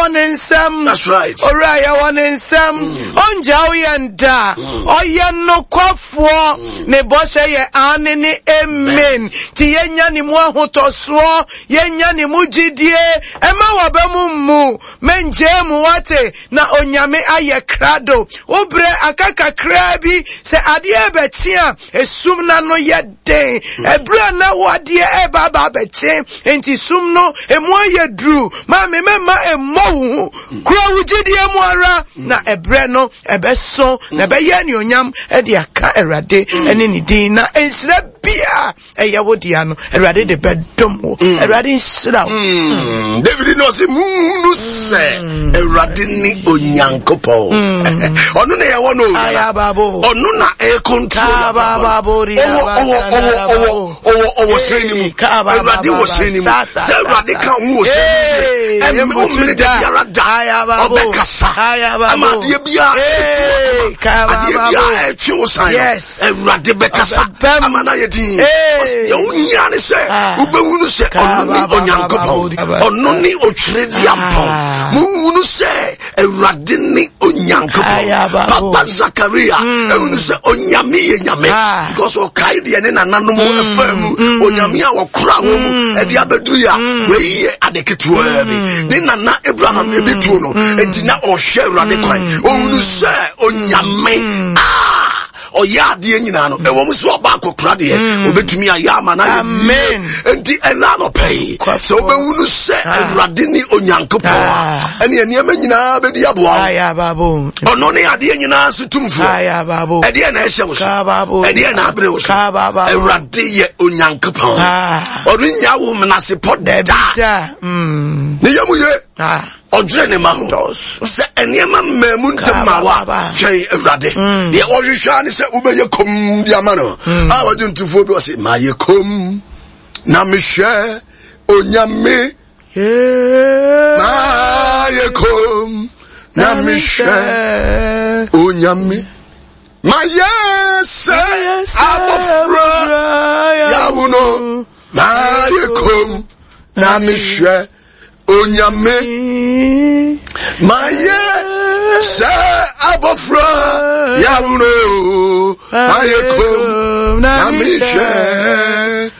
Yɛwɔ ne nsam. That's right. Owura yɛwɔ ne nsam. Ɔngyaw yɛn da. Ɔyɛ nokwafoɔ. Ne bɔhyɛ yɛ aane ne amen. Nti yɛnya ne mu ahotɔsoɔ, yɛnya ne mu gyidie. Ɛma w'aba mu mmu. Mengyaa mu wate, na Onyame ayɛ krado. Wo berɛ aka kakraa bi, sɛ adeɛ rebɛkye a, esum no ano yɛ den. Ɛberɛ a na wo adeɛ reba aba abɛkye, enti sum no emu ayɛ duru. Maame, mɛmma ɛmmɔ wo hu. Kura wo gyidie mu ara, na ɛberɛ no ɛbɛso, na ɛbɛyɛ anuonyam de aka Awurade ne ne din, na nhyira biara ɛyɛ wo dea no, Awurade de bɛdom wo. Mm. Awurade nhyira wo. Mm. David na ɔse muhunu sɛ mm. Awurade ne Onyankopɔn. Ɔno na yɛwɔ no ɔno na ɛcontrol ɔwɔ ɔwɔ hyɛn no mu. Awurade wɔ hyɛn no mu. Sɛ Awurade ka ho wɔ hyɛn no mu ɛmɛ ɔmmene da biara da ɔbɛkasa ama adeɛ biara adeɛ biara ɛtwe wo san no Awurade bɛkasa ama no ayɛ din. Deɛ wohia ne sɛ ah. wobɛhunu sɛ ɔno ne Onyankopɔn, ɔno ne Otweredeampɔn. Ah. Mohunu sɛ Awurade ne Onyankopɔn. Papa Zakaria hmm. ɛhunu sɛ Onyame yɛ Nyame ah. because ɔkae deɛ ne nananom hmm. ɛfaa mu hmm. Onyame a wɔkora wɔ mu ɛde abɛduru yɛ a wei yɛ ade ketewaa bi. Ne nana Abraham ebi tuo no, enti na ɔhwɛ Awurade kwan. Ɔhunu sɛ Onyame ah ɔyɛ adeɛ nyinaa no ɛwɔ mu sɛ ɔba akɔkora deɛ mm. ɔbɛtumi ayɛ ama no ayɛ nti ɛna anɔpɛ yi sɛ wobɛhunu sɛ ah. Awurade ne Onyankopɔn a ah. ɛne nneɛma nyinaa bɛdi aboa wo. Ɔno ne adeɛ nyinaa so tumfoɔ. Ɛdeɛ na ɛhyɛ wo so, ɛdeɛ na abere wo so. Awurade yɛ Onyankopɔn, ah. ɔrennya wo menasepɔ da. Mm. Ne yam ye. Ɔdwene ne ma ho sɛ nneɛma mmaa mu ntɛm ma wa twɛn Awurade. Mm. Deɛ ɔhwehwɛ ne sɛ wobɛyɛ kom de ama no. Mm. A wɔgye ntofoɔ bi ɔse mayɛ kom na mehwɛ Onyame. Mayɛ kom na mehwɛ Onyame. Mayɛ sɛ abɔfra yawo no. Mayɛ kom na mehwɛ Onyame. Mayɛ sɛ abɔfra yawuro, mayɛ kom na mehwɛ.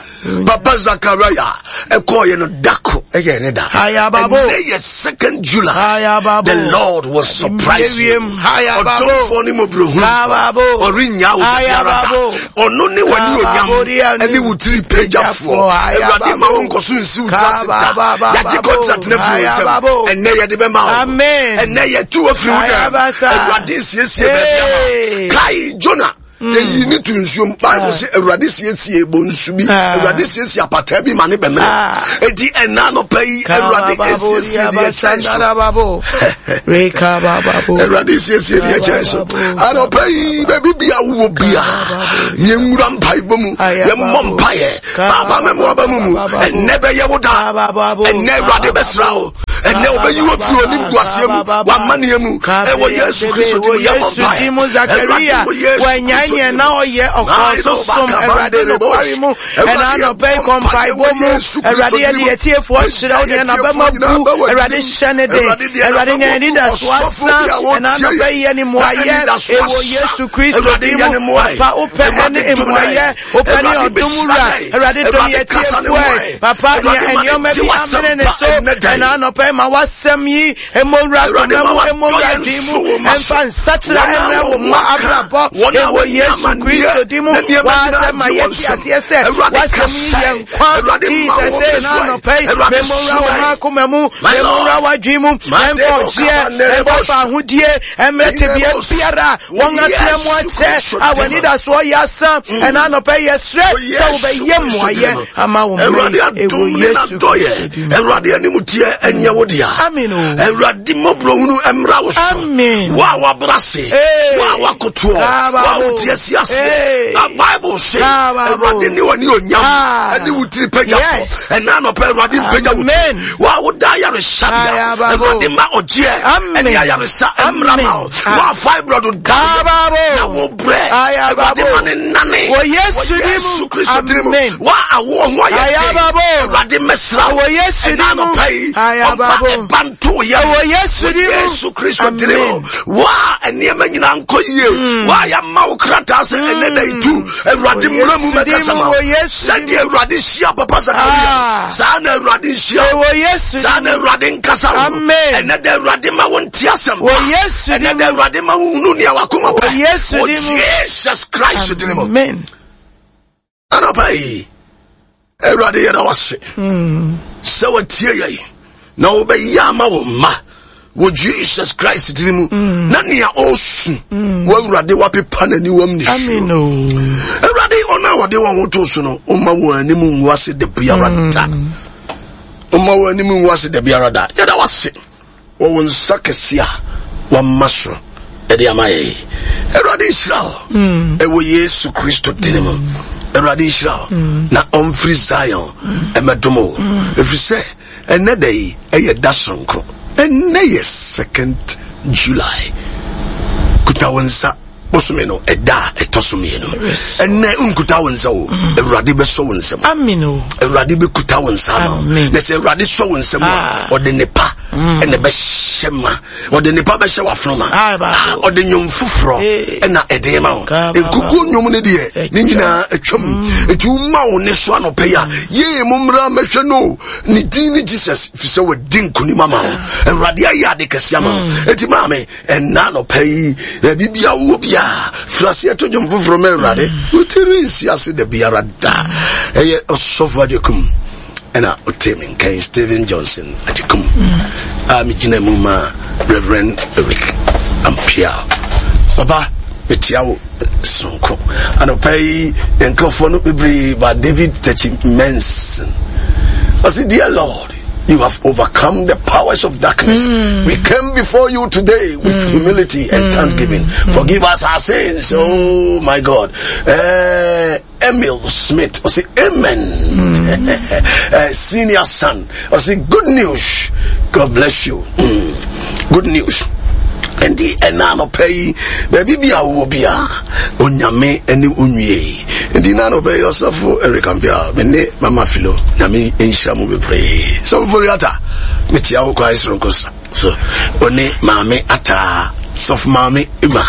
Papa Zakaria ɛkɔɔyɛ no dako ɛyɛ ne da. Ɛnɛ yɛ 2nd July. The Lord will surprise you. Ɔdomfoɔ ne mmɔborɔhunufoɔ, ɔrennya wo da biara da. Ɔno ne w'ani onyam ɛne wo tiri pagyafoɔ. Awurade ma wo nkɔso nsi wo tiri ase da. Yɛagye contract no afiri wo nsam. Ɛnɛ yɛde bɛma wo. Ɛnɛ yɛtu wo afiri wo dɛm. Awurade siesie baabi ama. Kae Jonah. Yɛyi ne to nsuom. Bible sɛ Awurade siesie bonsu bi. Awurade siesie apataa bi ma ne bɛmene. Enti ɛna anɔpa yi Awurade esiesie deɛ ɛkyɛn so. Awurade siesie deɛ ɛkyɛn so. Anɔpa yi baabi bia wowɔ bia yɛnwura mpaebɔ mu, yɛmmɔ mpaeɛ. Paapa mɛmoa ba mu mu. Ɛnnɛ bɛyɛ wo da. Ɛnnɛ Awurade bɛsra wo. Ɛnnɛ ɔbɛyi wo afiri onim guaseɛ mu, w'amanneɛ mu. Ɛwɔ Yesu Kristo din mu yɛmmɔ mpaeɛ. Awurade wɔ Yesu Kristo din mu. Na ɔyɛ ɔkɔɔ so som Awurade nokware mu. Ɛna anɔpa yi kɔ mpaebɔ mu. Awurade yɛde yɛn atiefoɔ kyerɛ wo deɛ n'abam abu. Awurade hyɛ ne den. Awurade nya yɛn anidasoɔ asa. Ɛna anɔpa yi yɛ ne mmuayɛ. Ɛwɔ Yesu Kristo din mu. Papa wopɛ ɛne mmuayɛ. Wopɛ ne ɔdom wura. Awurade dom yɛn atiefoɔ. Papa nea nneɛma bi amene ne so. Ɛna anɔpa yi ma w'asɛm yi Mmɔ wura koma mu, mmɔ wura adwene mu, mfa nsakyera mmrɛ wo mma abrabɔ wɔ Yesu Kristo din mu. W'asɛm ma yɛte aseɛ sɛ w'asɛm yi yɛ nkwa. Jesus ee na anɔpa yi, memmɔ wura wo mma akoma mu, memmɔ wura w'adwene mu, mfa ɔgyeɛ, mfa fahodie, mmerɛ tebea biara wɔn atena mu akyɛ a wɔn anidasoɔ yɛ asa. Ɛna anɔpa yi yɛsrɛ sɛ wobɛyɛ mmuayɛ ama wo mmerɛ yi ɛwɔ Yesu Kristo din mu. Awurade anim teɛ ɛnyɛ wo dea. Amen o. Awurade mmɔborɔhunu mmra wo so. Amen. Wo a wabra se, wo a wakotoɔ, wo a wote asi aseɛ. Na Bible se, Awurade ne w'ani onyam ɛne wo tiri pagya so. Ɛna anɔpa Awurade mpagya wo tiri. Wo a woda ayaresabea, Awurade ma ɔgyeɛ ɛne ayaresa mmra ma wo. Wo a fibroid da na wo brɛ, Awurade ma ne nane. Wɔ Yesu Kristo din mu. Amen. Wa awoɔ ho ayɛ den. Ayababo. Awurade mmɛsra wo. Wɔ Yesu Ɛna din mu. anɔpa yi, Ayababo. ɔmfa Ma ɛba nto wo yam. Ɛwɔ Yesu Wɔ din mu. Yesu Kristo din mu. Amen. Wo a nneɛma nyinaa nkɔ yie. Wo a yɛama wo krataa sɛ ɛnɛ da yi tu. Awurade Wɔ mmra mu Yesu din mmɛkasa mu, ma wo. wɔ Yesu din Sɛdeɛ Awurade hyia Papa Zakaria, Ah. saa na Awurade nhyia wo. Ɛwɔ Yesu Saa din na mu. Awurade nkasa wo. Amen. Ɛnɛ da Awurade ma wo nte asɛm Wɔ pa. Yesu Ɛnɛ din da mu. Awurade ma wo hunu nea wakoma Wɔ pɛ. Yesu Wɔ din mu. Jesus Christ din mu. Amen. Anɔpa yi, Awurade yɛda wase sɛ watie yɛn na wobɛyɛ ama wo mma wɔ Jesus Christ din mu na nea ɔresu wɔ Awurade wapepa n'aniwam ne Amen. suo. o. Awurade ɔno a wɔde wɔn ho to so no ɔma wɔn anim ngu ase da biara da. Ɔma wɔn anim ngu ase da biara da. Yɛda wase wɔ wo nsa kɛse a wama so ɛde ama yɛn. Awurade nhyira wo ɛwɔ Yesu Kristo din mu. Awurade nhyira wo na ɔmfiri Zion ɛmɛdom wo. Ɛfiri sɛ ɛnɛ da yi ɛyɛ da soronko. Ɛnɛ yɛ 2nd July. Kuta wo nsa bosome no ɛda a ɛtɔ so mmienu. Ɛnɛ nkuta wo nsa o. Awurade bɛsɔ wo nsam. Amen. o. Awurade bɛkuta wo nsa ama wo. Amen. Na sɛ Awurade sɔ wo nsam a, Ah. ɔde ne pa ɛna ɛbɛhyɛ ma. Ɔde ne pa bɛhyɛ w'afono ma. Ah, baako. Ah, ɔde nnwom foforɔ Eh. ɛna ɛde ma wo. Ka, ba, ba. Nkukuo nnwom no deɛ, ne nyinaa atwam. Enti woma wo ne so anɔpa yi a, yee mo mmra mmɛhwɛ no. Ne din ne Jesus, firi sɛ wadi nkonim ama wo. Awurade ayɛ ade kɛse ama wo. Enti maame, ɛnna anɔpa yi, baabi bia wowɔ bia, firi aseɛ to dwom foforɔ ma Awurade. Wo tiri nsi ase da biara da. Ɛyɛ Ɔsɔfo Agyekum ɛna ɔte me nkan Stephen Johnson Agyekum a megyina mu ma Reverend Eric Ampia. Papa, mekyia wo sononko. Anɔpa yi, yɛn nkurɔfoɔ no bebree ba David Tachi Manson. Ɔse, Dear Lord, you have overcome the powers of darkness. We came before you today with humility and thanksgiving. Forgive us our sins. Oh my God. Emil Smith, I say amen. Senior son, I say good news. God bless you. Good news. Nti ɛna anɔpa yi baabi bi a wowɔ bi a onyame ne onwie nti na anɔpa yi ɔsɔfo Eric Ampia me ne mama Philo nyame nhyira mu bebree sɔfo Foriata mekyia wo kwan soronko so ɔne maame ataa sɔfo maame Ima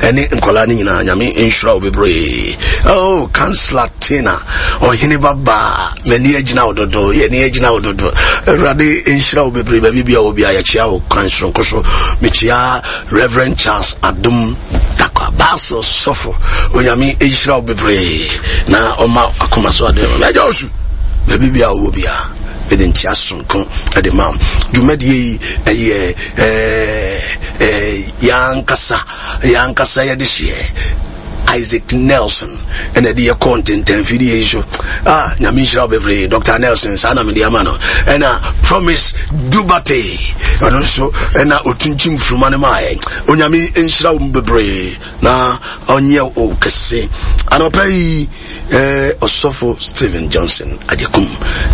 ɛne nkɔlaa no nyinaa nyame nhyira wo bebree. Oh, Kansla Tina ɔhene babaa m'ani agyina wo dodo, yɛni agyina wo dodo. Awurade nhyira wo bebree baabi bia wɔ bia yɛkyia wo kwan soronko so. Mekyia Reverend Charles Adom Dakwa Basel sɔfo, onyame nhyira wo bebree na ɔma akoma so ade. Mɛgya osu baabi bia wɔ bia mede nkyia soronko ɛde ma wo. Dwumadie yi ɛyɛ yɛankasa yɛankasa yɛde hyeɛ Isaac Nelson ɛna ɛde yɛ kɔɔ ntɛntɛnfidie yi so. Ah, nyame nhyira wo bebree Dr. Nelson, saa na mede ama no. Ɛna Promise Dubate ɔno nso ɛna ɔtuntum furuma no maayɛ. Onyame nhyira wo bebree na ɔnyɛ wo kɛse. Anɔpa yi ɔsɔfo Stephen Johnson Agyekum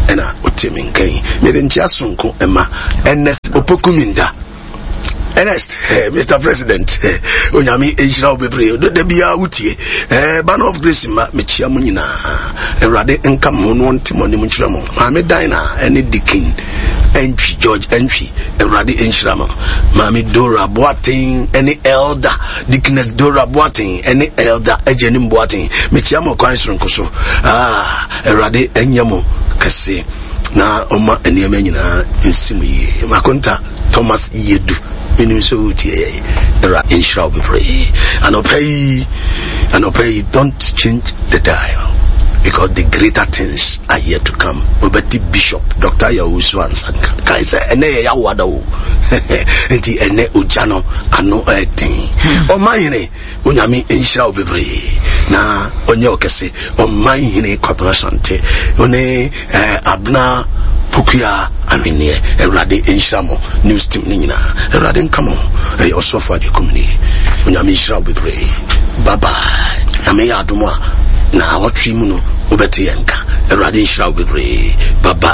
ɛna ɔte me nkan. Mede nkyea sononko ɛma Ernest Opoku Minta. Ernest, Mr. President, Onyame nhyira wo bebree. Da biara wotie. Banner of Grace ma mekyia mo nyinaa. Awurade nka mo no nte mo anim nkyerɛ mo. Maame Dinah ɛne Dikin Entwi, George Entwi, Awurade nhyira mo. Maame Dora Boateng ɛne Elder Deaconess Dora Boateng ɛne Elder Agyanim Boateng. Mekyia mo kwan soronko so. Ah, Awurade ɛnyɛ mo kɛse na ɔma nneɛma nyinaa nsi mo yie. Makonta Thomas Yedu, menim sɛ wotie yɛ. Awurade nhyira wo bebree. Anɔpa yi, anɔpa yi, don't change the dial because the greater things are yet to come. Wobɛte Bishop Dr. Yawusu Ansanka. Kae sɛ ɛnɛ yɛ yawoada o. Nti ɛnɛ ogya no ano ɛden. Ɔman hene, onyame nhyira wo bebree na ɔnyɛ wo kɛse. Ɔman hene Kwabena Asante, ɔne Abena Pokuya Ahwenneɛ, Awurade nhyira mo news team ne nyinaa. Awurade nka mo. Ɛyɛ ɔsɔfo Agyekum ni. Onyame nhyira wo bebree. Bye bye. Nyame yɛ adom a na awɔtwe mu no wobɛte yɛn nka. Awurade nhyira wo bebree. Bye bye.